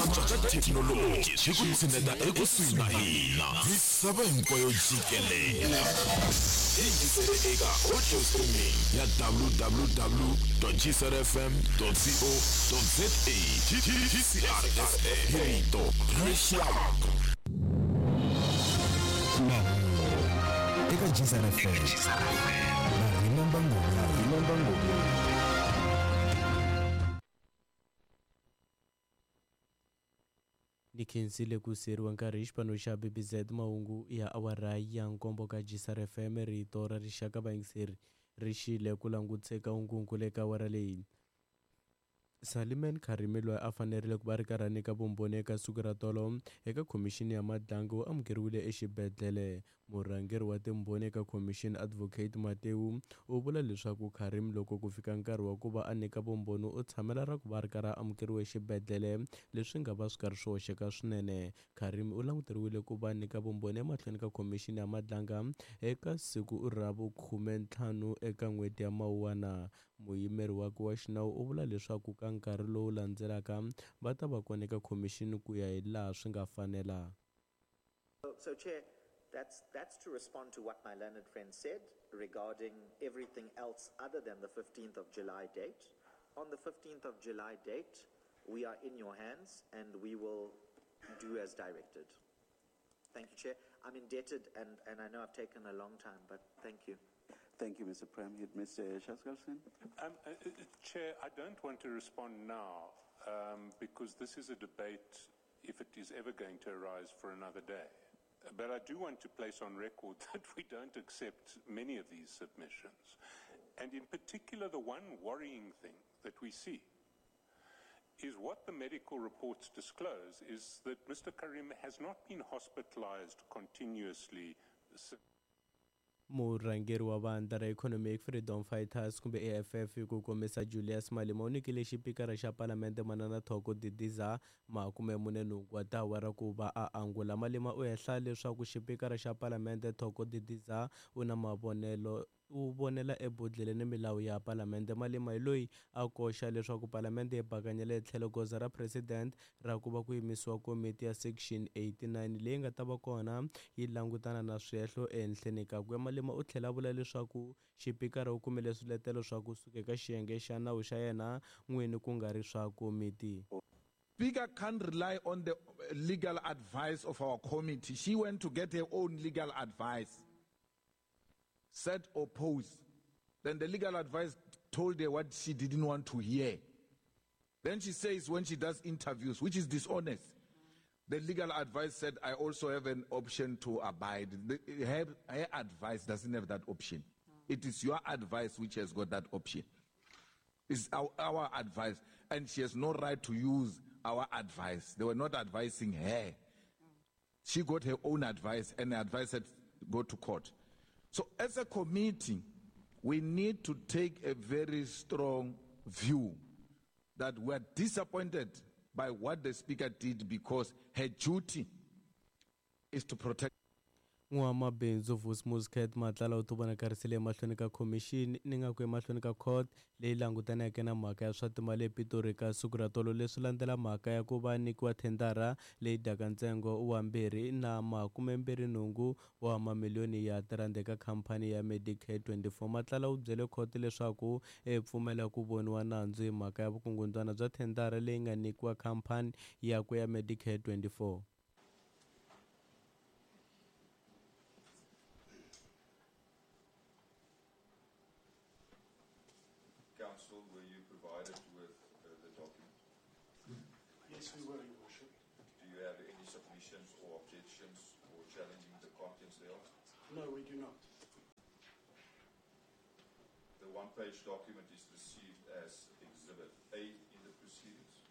Antswa ka thekinoloji swi ku tshineta ekusuhi na hina misava hinkwayo jikelele. Yingisele eka audio streaming ya www.gcrfm.co.za. GCRFM, rito ra rixaka. Mahungu eka GCR FM na Remember Ngomeni. Ni khensile ku siyeriwa nkarhi hi xipano xa BBZ. Mahungu ya awara ya nkombo ka GCR FM, rito ra rixaka. Vayingiseri ri xile ku languteka unkunku le ka awara leyi. Saliman Karimi, loyi a fanerile ku va ri karhi a nyika vumbhoni eka siku ra tolo eka khomixini ya Madlanga, u amukeriwile exibedhlele. Murhangeri wa timbhoni eka khomixini, Advocate Matewu, u vula leswaku Karim loko ku fika nkarhi wa ku va a nyika vumbhoni u tshamela ra ku va a ri karhi a amukeriwe exibedhlele, leswi nga va swi karhi swi hoxeka swinene. Karim u languteriwile ku va nyika vumbhoni emahlweni ka khomixini ya Madlanga eka siku ra vu-15 eka n'hweti ya Mawuwana. Muyimeri wakwe wa xinawu u vula leswaku ka nkarhi lowu landzelaka va ta va kona eka khomixini ku ya hi laha swi nga fanela. So, Chair, that's to respond to what my learned friend said regarding everything else other than the 15th of July date. On the 15th of July date, we are in your hands and we will do as directed. Thank you, Chair. I'm indebted, and I know I've taken a long time, but thank you. Thank you, Mr. Premhid. Mr. Chaskalson? Chair, I don't want to respond now because this is a debate, if it is ever going to arise, for another day. But I do want to place on record that we don't accept many of these submissions. And in particular, the one worrying thing that we see is what the medical reports disclose is that Mr. Karim has not been hospitalized continuously since Murhangeri wa vandla ra Economic Freedom Fighters kumbe EFF hi ku komisa, Julius Malema, u nyikile xipikara xa palamende Manana Thoko Didiza 48 wa tiawara ku va a angula. Malema u hehla leswaku xipikara xa palamende Thoko Didiza u na mavonelo, u vonela ebodhleleni milawu ya palamende. Malema hi loyi a koxa leswaku palamende yi bakanyela etlhelo goza ra president ra ku va ku yimisiwa komiti ya Section 89 leyi nga ta va kona yi langutana na swihehlo ehenhleni kakwe. Malema u tlhela a vula leswaku xipikara u kumile swiletelo swa kusuka eka xiyenge xa nawu xa yena n'wini, ku nga ri swa komiti. Speaker can't rely on the legal advice of our committee. She went to get her own legal advice. Said oppose. Then the legal advice told her what she didn't want to hear. Then she says when she does interviews, which is dishonest, the legal advice said, "I also have an option to abide." Her advice doesn't have that option. It is your advice which has got that option. It's our advice. And she has no right to use our advice. They were not advising her. She got her own advice, and the advice said, "Go to court." So as a committee, we need to take a very strong view that we are disappointed by what the Speaker did because her duty is to protect. N'wamabindzu Vusimuzi Cat Matlala u tivonakarisile emahlweni ka khomixini, ni nga ku emahlweni ka court leyi langutaneke na mhaka ya swa timali ePitori ka siku ra tolo. Leswi landzela mhaka ya ku va nyikiwa thendara leyi dyaka ntsengo wa 228 wa mamiliyoni ya tirhandi eka khampani ya Medicare 24. Matlala u byele khoto leswaku e pfumela ku voniwa nandzu hi mhaka ya vukungundzwana bya thendara leyi nga nyikiwa khampani yakwe ya Medicare 24. Counsel, were you provided with the document? Yes, we were, Your Worship. Do you have any submissions or objections or challenging the contents thereof? No, we do not. The one-page document is received as Exhibit A in the proceedings.